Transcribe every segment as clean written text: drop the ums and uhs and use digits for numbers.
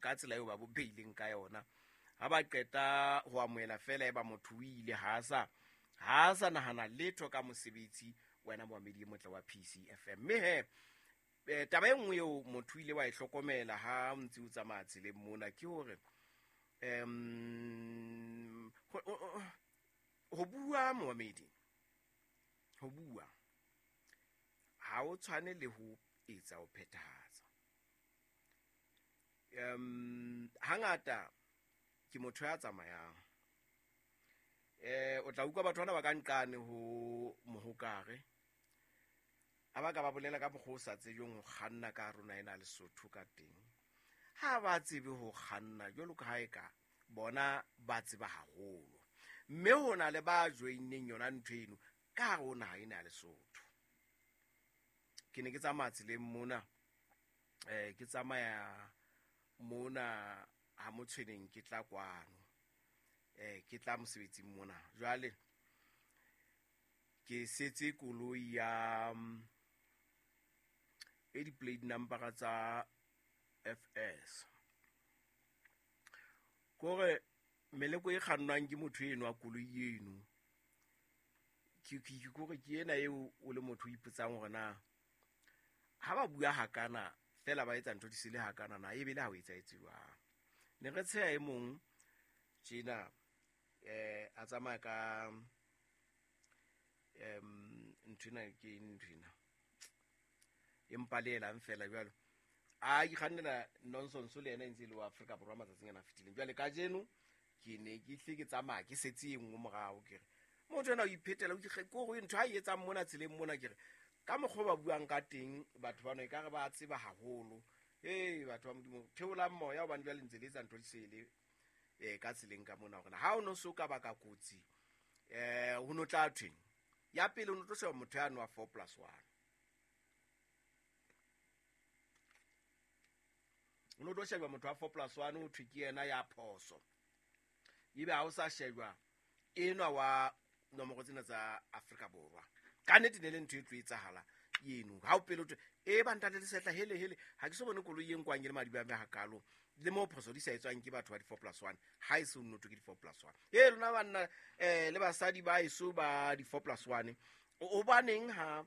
Ka tsela eo ba bo beileng ka yona, ha ba qeta ho amohela feela eba motho o ile, ha sa nahana letho ka mosebetsi. Wena moamedi e motle wa PCFM, mme he taba e nngwe eo motho o ile wa e hlokomela ha o ntse o tsamaya tseleng mona ke hore ho bua, moamedi, ho bua ha o tshwane le ho etsa, ho phethahatsa. Hangata ke motho ya tsamayang, o tla utlwa batho bana ba ka nqane ho Mohokare a ba ka ba bolela ka mokgwa o sa tsejweng ho kganna ka rona ena Lesotho ka teng. Ha ba tsebe ho kganna jwalo ka ha e ka bona ba tseba haholo, mme ho na le ba joinneng yona ntho eno ka hare ho naha ena ya Lesotho. Ke ne ke tsamaya tseleng mona, ke tsamaya mona ha Motshweneng, ke tla kwano, ke tla mosebetsing mona. Jwale ke setse koloi ya e di-plate number tsa FS, kore meleko e kgannwang ke motho eno wa koloi eno, ke kore ke ena eo o le motho o ipotsang hore na ha ba bua hakana fela ba etsa ntho di sele hakana na, ebe le ha o etsahetse jwang. Ne re tsheha e mong tjena, a tsamaya ka nthwena, ke nthwena empa le elang fela jwalo, a ikgannela nonsense le yena e ntse e le wa Afrika Borwa matsatsing ana a fetileng. Jwale kajeno ke ne ke hle ke tsamaya ke setse e nngwe morao, ke re motho ena o iphetela kore ntho a e etsang mona tseleng mona, ke re ka mokgwa o ba buang ka teng batho bano e ka re ba tseba haholo. Ee, batho ba Modimo, theolang moya, hobane jwale ntse le etsa ntho di sele ka tseleng ka mona. Hore ha o no so ka baka kotsi, ho no tla thweng ya pele? O no tlo sheba motho ya nwa 4+1, o no tlo sheba motho wa 4+1, o thwe ke yena ya phoso, ebe ha o sa shejwa enwa wa nomoro tsena tsa Afrika Borwa. Ka nnete ne le ntho e tlo etsahala eno ha o pele o thwe e ba ntate Lesetla, hele hele, ha ke so bone koloi e nkwang ke le madiba a hakalo le mo phoso di sa etswang ke batho ba di-4+1, ha e se o nnoto ke di-4+1. E lona banna le basadi ba eso ba di-4+1, o baneng ha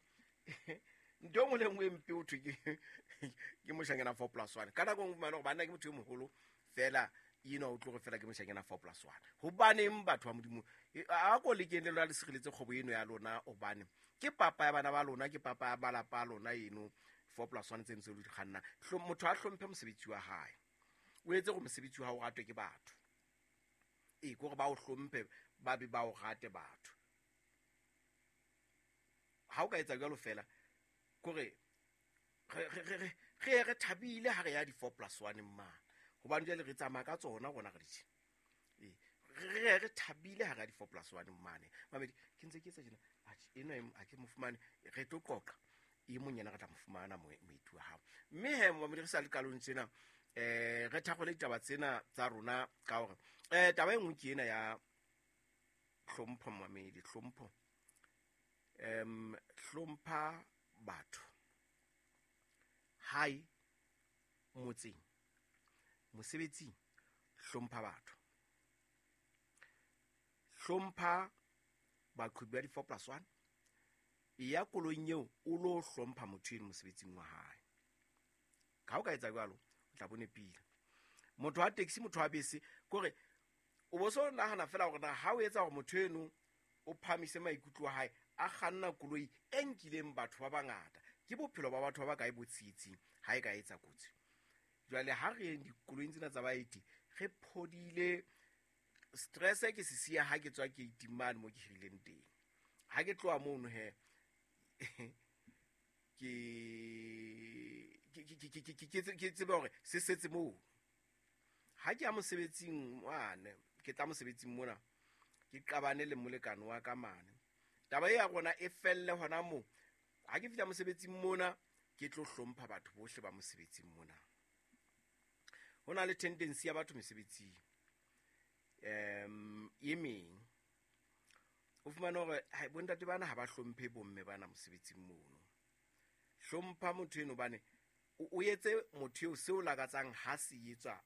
ntho e nngwe le nngwe e mpe o thwe ke moshanyana 4+1? Ka nako e nngwe fumane gore banna ke motho e moholo fela eno o tloge fela ke moshanyana 4+1. Hobaneng, batho ba Modimo, a ko lekeng le lona le sireletse kgwebo eno ya lona, hobane ke papa ya bana ba lona, ke papa ya malapa a lona eno 4+1 tseno tse lo di kganna. Motho a hlomphe mosebetsi wa hae, o etse gore mosebetsi wa hao o ratwe ke batho, ee, kore ba o hlomphe, ba be ba o rate batho. Ha o ka etsa jwalo fela, kore re ye re thabile ha re ya di-4+1 mane, hobane jwale re tsamaya ka tsona rona re ditjhe. Ee, re ye re thabile ha re ya di-4+1 mane. Mamedi, ke ntse ke etsa tjena, atjhe, enwa ha ke mo fumane. Re tlo qoqa e mong yena, re tla mo fumana moeti wa hao. Mme he, mamedi, re sa le qalong tsena, re thakgole ditaba tsena tsa rona ka hore taba e nngwe ke ena ya hlompho. Mamedi, hlompho, hlompha batho hae, motseng, mosebetsing, hlompha batho, hlompha baqhobi ba di-4+1. E ya koloing eo o lo hlompha motho eno mosebetsing wa hae. Ka o ka etsa jwalo, o tla bone pila motho wa taxi, motho wa bese, kore o bo so nahana fela hore na ha o etsa hore motho eno o phamise maikutlo a hae a kganna koloi e nkileng batho ba bangata, ke bophelo ba batho ba ba kae bo tsietsing ha e ka etsa kotsi? Jwale ha re yeng dikoloing tsena tsa baeti re phodile. Stress ke se siya ha ke tswa gate mane mo ke hirileng teng. Ha ke tloha mono he, ke tsebe hore se setse moo. Ha ke ya mosebetsing mane, ke tla mosebetsing mona, ke qabane le molekane wa ka mane, taba e ya rona e felle hona moo. Ha ke fihla mosebetsing mona, ke tlo hlompha batho bohle ba mosebetsing mona. Ho na le tendency ya batho mesebetsing e meng, o fumane hore hai, bontate bana ha ba hlomphe bomme bana mosebetsing mono. Hlompha motho eno, bane O etse motho eo seo lakatsang ha se etswa.